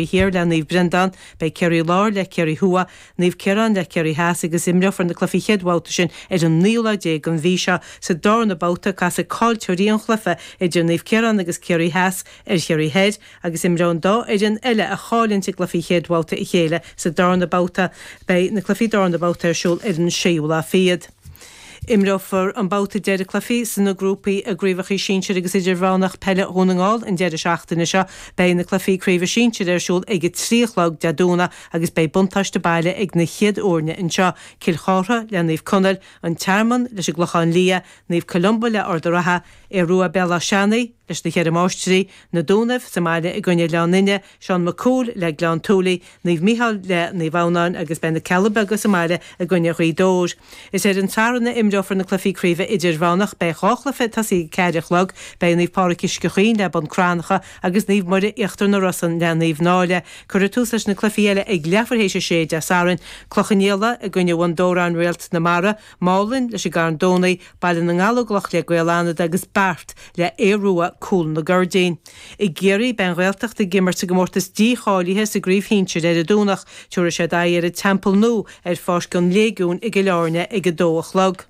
Thiar le Naomh Breandán, beidh Ciarraí Láir le Ciarraí Thuaidh, Naomh Ciarán le Ciarraí Theas agus imreofar na cluichí chéad bhabhta sin ar an naoú lá déag den mhí seo. Sa darna babhta, casfaidh caillteoirí an chluiche idir Naomh Ciarán agus Ciarraí Theas ar Chiarraí Thoir agus imreoidh an dá fhoireann eile a chailleann i gcluichí chéad bhabhta a chéile sa darna babhta. Beidh na cluichí darna babhta ar siúl ar an séú lá fichead. Imreofar an babhta deiridh cluichí sna grúpaí i gCraobhacha Sinsir agus Idirmheánach Peile Dhún na nGall an deireadh seachtaine seo. Beidh na cluichí craoibhe sinsir ar siúl ag 3 a chlog Dé Domhnaigh agus beidh buntáiste baile ag na chéad fhoirne anseo, Cill Chartha le Naomh Conaill, An Tearmann leis an gClochán Liath, Naomh Columba le Ard an Rátha, Aodh Rua Béal Átha Seanaidh leis na Cheithre Máistrí, Na Dúnaibh sa mbaile i gcoinne Oileán Fhine, Seán Mac Cumhaill le Gleann tSúilí, Naomh Micheál le Naomh Adhamhnáin agus beidh na Cealla Beaga sa mbaile i gcoinne Ghaoth Dobhair. Is ar an Satharn a imreofar na cluichí craoibhe idirmheánach. Beidh 2 chluiche ag tosaí ag 4 a chlog. Beidh Naomh Pádraig Uisce Chaoin le Bun Cranncha agus Naomh Muire Íochtar na Rosann le Naomh Náille. Cuirfear tús leis na cluichí eile ag leathuair théis a sé Dé Sathairn. Cloich Cheann Fhaola i gcoinne Bhun Dobhráin Réalt na Mara, Málainn leis an gCarn Domhnaigh, Baile na nGallóglach le Gaeil Fhánada agus Beart le Aodh Rua Cúl na gCuirdín. I gCiarraí, beidh an Ghaeltacht ag imirt sa gcomórtas dícháilithe sa gcraobh shinsir ar an Domhnach. Tabharfaidh siad aghaidh ar an Teampall Nua ar Pháirc an Léigiúin i gCill Airne ag 2 a chlog.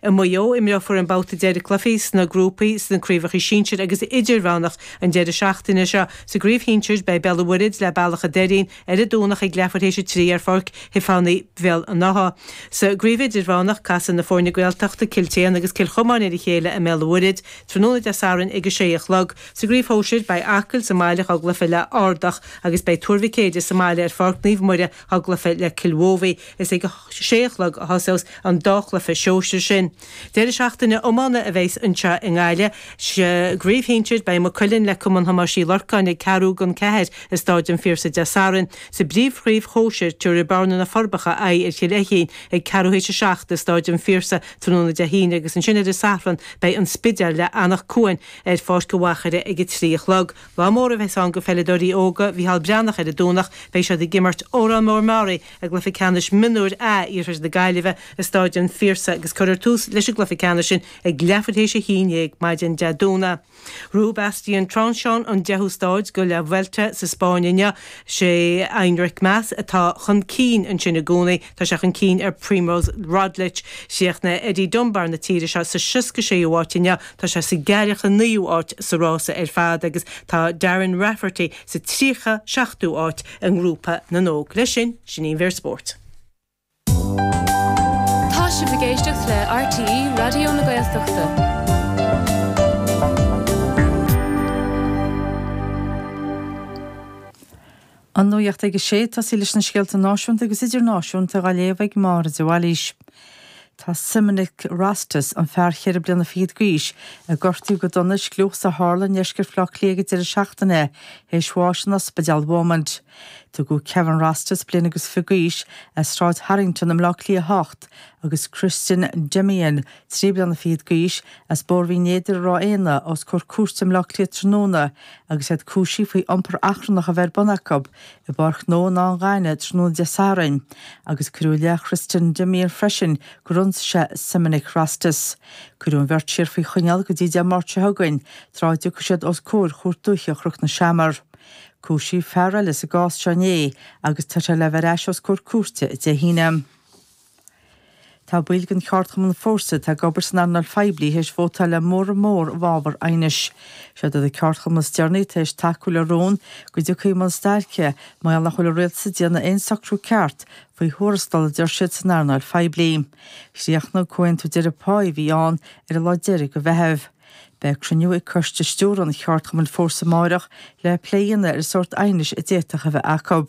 I Maigh Eo, imreofar an babhta deiridh cluichí sna grúpaí sna craobhacha sinsir agus idirmheánach an deireadh seachtaine seo. Sa gcraobh shinsir, beidh Béal an Mhuirthead le Bealach an Doirín ar an Domhnach ag leathuair théis 3 ar Pháirc Shiofánaí Bhéal an Átha. Sa gcraobh idirmheánach, casfaidh na foirne Gaeltachta, Cill tSéadhna agus Cill Chomáin ar a chéile i mBéal an Mhuirthead tráthnóna Dé Sathairn ag 6 a chlog. Sa gcraobh shóisir, beidh Acaill sa mbaile dhá gcluiche le Ardach agus beidh Tuar Mhic Éide sa mbaile ar Pháirc Naomh Muire dhá gcluiche le Cill Mhóibhí. Is ag 6 a chlog a thosós an dá chluiche sóisir sin. Deireadh seachtaine iomána a bheas anseo i nGaillimh. Sa gcraobh shinsir, beidh Maigh Cuilinn le Cumann Thomáis Uí Lorcáin ag ceathrú don cheathair i Stáid an Phiarsaigh Dé Sathairn. Sa bpríomhchraobh shóisir, tabharfaidh Bearna-Na Forbacha aghaidh ar Chill Feichín ag ceathrú théis a 7 i Stáid an Phiarsaigh tráthnóna Dé hAoine agus ansin ar an Satharn beidh An Spidéal le Anach Cuain ar Pháirc an Mhachaire ag 3 a chlog. Lá mór a bheas ann go pheileadóirí óga Mhícheál Breathnach ar an Domhnach, beidh siad ag imirt Órán Mór Meáraí i gcluiche ceannais mionúir A Iarthar na Gaillimhe i Stáid an Phiarsaigh agus cuirfear tús leis an gcluiche ceannais sin ag leathuair théis 11 maidin Dé Domhnaigh. Ghnóthaigh Bastien Tronchon an deichiú stáid de La Vuelta sa Spáinn inniu. Sé Enric Mas atá chun cinn ansin i gcónaí. Tá sé chun cinn ar Primoz Roglic. Chríochnaigh Eddie Dunbar na tíre seo sa 66ú háit inniu. Tá sé sa 49ú háit sa rása ar fad agus tá Darren Rafferty sa 37ú háit i ngrúpa na n-óg. Leis sin, sin í an mhír spóirt. Tá sibh ag éisteacht le RTÉ Raidió na Gaeltachta. An nuacht ag a sé, tosaí leis na scéalta náisiúnta agus idirnáisiúnta á léamh ag Máire de Bhailís. Tá Simonic Rostas, an fear cheithre bliana fichead d'aois, a gortaíodh go dona i scliúchas a tharla i ndeisceart Bhaile Átha Cliath ag an deireadh seachtaine, théis bháis in Ospidéal Beaumont. Tugadh Kevin Rostas, bliain agus fiche d'aois, as Sráid Harrington i mBleá Cliath 8, agus Kristin Demian, 3 bliana fichead d'aois, as Bóthar Bhinn Éadair i Ráth Éanna, os comhair cúirte i mBleá Cliath tráthnóna agus iad cúisithe faoi iompar achrannach a bheith ar bun acu i bPáirc Ghnó an Fhátha Ghainimh tráthnóna Dé Sathairn, agus cuireadh i leith Kristin Demian freisin gur ionsaigh sé Simonic Rostas. Cuireadh an bheirt siar faoi choinneáil go dtí Dé Máirt seo chugainn, tráth a dtiocfaidh siad os comhair Chúirt Dúiche Chnoc na Seamar. Cúisíodh fear eile sa gcás seo inné agus tá sé le bheith ar ais os comhair cúirte Dé hAoine. Tá baill den cheardchumann Fórsa atá ag obair san earnáil phoiblí théis vótáil le móramh mór i bhfabhar aighnis. Siod iad na ceardchumainn is deireanaí tar éis tacú le rún go dtiocfaí i mbun stailce mar gheall nach bhfuil an rialtas ag déanamh aon socrú ceart faoi thuarastal a deir siad san earnáil phoiblí. Chríochnaigh comhaontú deiridh páí a bhí ann ar an lá deiridh de Mheitheamh. Beidh cruinniú ag coiste stiúrtha an cheardchumainn Fórsa amáireach le plé a dhéanamh ar an sórt aighnis a d'fhéadfadh a bheith acu.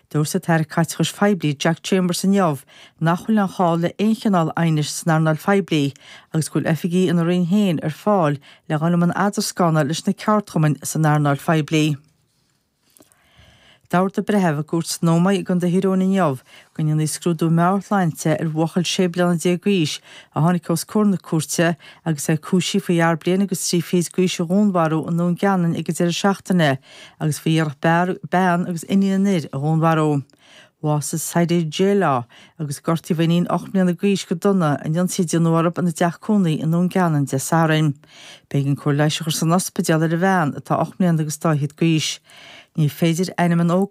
Dúirt an tAire Caiteachais Phoiblí Jack Chambers inniu nach bhfuil aon chall le aon chineál aighnis san earnáil phoiblí agus go bhfuil oifigigh ina roinn féin ar fáil le dhul i mbun eadarscána leis na ceardchumainn san earnáil phoiblí. D'ordaigh breitheamh i gcúirt san Ómaigh i gContae Thír Eoghain inniu go ndéanfaí scrúdú meabhairshláinte ar bhuachaill 16 bliana d'aois a tháinig os comhair na cúirte agus é cúisithe faoi fhear bliain agus 3 fichid d'aois a dhúnmharú i nDún Geanainn ag an deireadh seachtaine agus faoi iarracht bean agus iníon an fhir a dhúnmharú. Bhásaigh Saidee J-Law agus gortaíodh a iníon 8 mbliana d'aois go dona in ionsaí a déanadh orthu ina dteach cónaí i nDún Geanainn Dé Sathairn. B'éigean cóir leighis a chur san ospidéal ar an bhean, atá 8 mbliana agus dá fhichead d'aois. Ní féidir ainm an ógánaigh.